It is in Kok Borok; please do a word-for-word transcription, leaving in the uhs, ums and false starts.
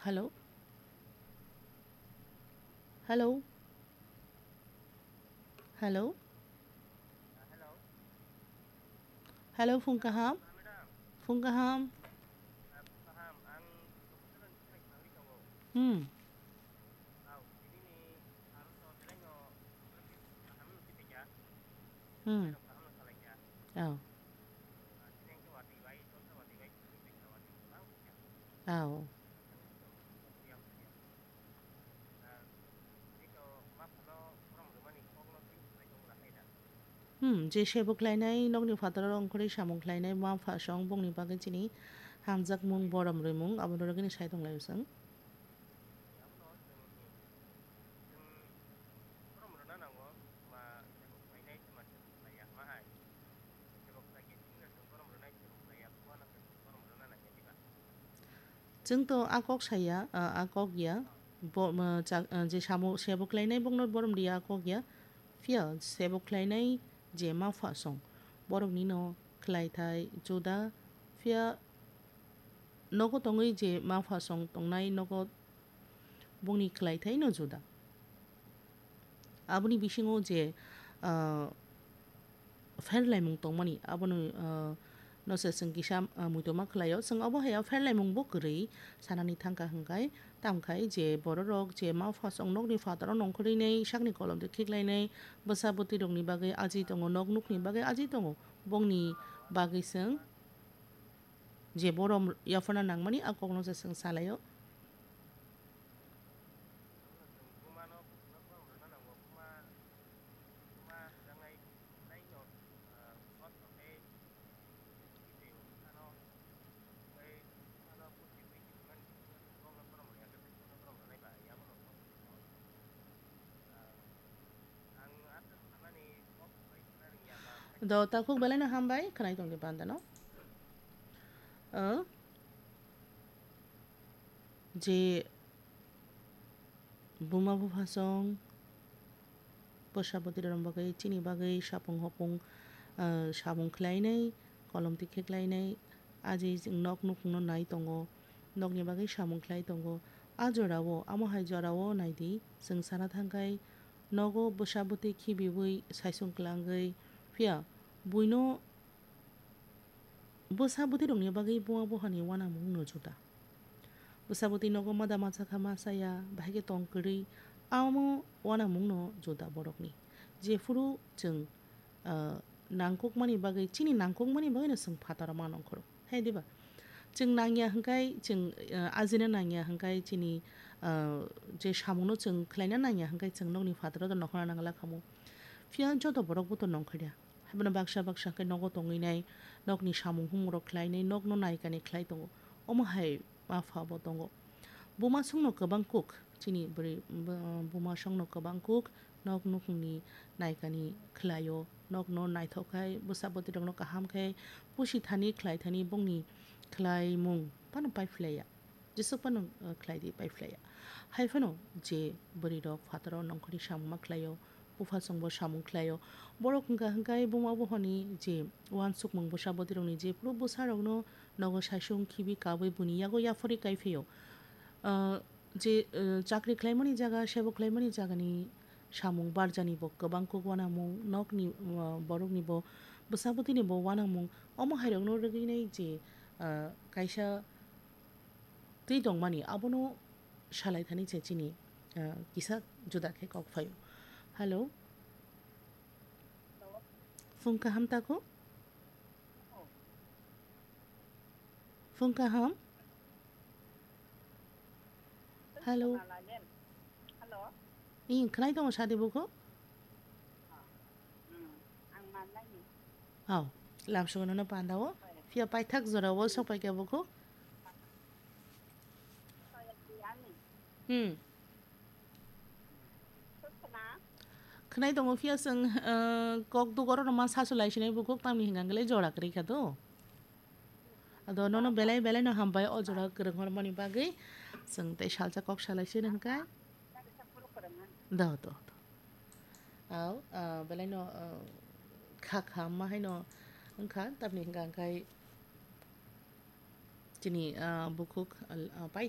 Hello? Hello? Hello? Hello, phung kaham? Phung kaham? Hmm. Hmm. Oh. Oh. Hmm, je sebo khlainai, nokni phataro ongkhorwi samung khlainai, ma pha song bongni bagwi chini hamjakmung, borom rwimung, abono rwgwini sai tonglaio chwng. Chwng to a kok saya, a, a kok ya. Bo, ma, cha, a, je samo sebo khlainai bokno borom riya a kok ya. Phiya sebo khlainai je ma pha song. Borokni no khlai thai juda. Phiya nogo tongwi je ma pha song tongnai nogo bongni khlai thai no juda. Aboni bisingo je, ah, pherlaimung tongmani, abono, ah, no se chwng kisa, ah, muitoma khlaio. Chwng obo hai o pherlaimung bo kwrwi sanani thangkha hwnkhe, tamkhai je bororok je ma pha song nokni phataro nongkhorwi nai sakni kolom de khiklainai, bwsa bwtwi rokni bagwi aji tongo, nok nukni bagwi aji tongo, bongni bagwi chwng je borom yapharna nangmani a kokno se chwng salaio. Do, takhuk belai no hambai, khwnai tong di panda no. O, je buma bupha song, bwsa bwtwi rok bagwi, chini bagwi sapung hopung, ah, samung khlainai, kolom tikhe khlainai, aji nok nukhungno nai tongo, nokni bagwi samung khlai tongo. A jorao, amo hai jorao nai di, chwng sana thangkhai, nogo bwsa bwtwi khibiwi saisung kwlangwi, phiya buino bwsa bwtwi rokni bagwi buma buphani uanamung no juda. Bwsa bwtwi nogo mada masa kha masa ya, bahai khe tong kwrwi, amo uanamung no juda borokni. Jephuru chwng, ah, nangkukmani bagwi, chini nangkukmani bagwi no chwng phataro ma nongkhoro. Hai diba? Chwng nangya hwnkhe chwng, ah, ajina nangya hwnkhe chini, ah, je samungno chwng khlaina nangya hwnkhe chwng nokni phataro do nokhorna nangla khamu. Phiya joto borok bo to nongkhorya. Haibano baksa baksa khe nogo tongwi nai, nokni samung humung rok khlai nai, nokno nai kani khlai tongo. Omo hai ma pha bo tongo. Buma songno kwbang kuk, chini bwrwi, bu-, buma songno kwbang kuk, nok nukhungni nai kani khlaio, nokno naithok khai, bwsa bwtwi rokno kaham khai, pusi thani khlai thani bongni khlaimung phano pai phlaiya. Jesuk phano, uh, khlai di, pai phlaiya. Hai phano je bwrwi rok phataro nongkhorni samung ma khlaio, bupha chwngbo samung khlaio. Borok hwnkha hwnkhe buma buphani je uansukmung bwsa bwtwi rokni jephuru bwsa rokno nogo saisung khibi kabwi buini yago yaphori kai phio. Uh, je, uh, chakri khlaimani jaga, sebo khlaimani jagani samung barjani bo kwbang kuk uanamung, nokni, uh, borokni bo bwsa bwtwini bo uanamung. Omo hai rokno rwgwi nai je, uh, kaisa twi tongmani abono salai thani se chini, ah, kisa juda khe kok phaio. Hello. Phung kaham tako? Phung kaham? Hello. Hello. Ih, khwnai tongo sadi bukhuk? Hmm, ang manlaini. Oh, lamsogo nono pandao. Phiya paithak jorao sok paikha bukhuk. Hmm. Khwnai tongo phiya chwng, eh, kok dugoro no ma sasu lai sinai bukhuk tamni hwnka hwnkhe jora kwrwi kha do. Ado nono belai belai no hambai o jora kwrwng hormani bagwi. Chwng tei salsa kok salai sini hwnkha. Do, do, do. Au, ah, belai no, ah, kha kha ma hai no wngkha, tamni hwnka hwnkhe chini, ah, bukhuk, ah, pai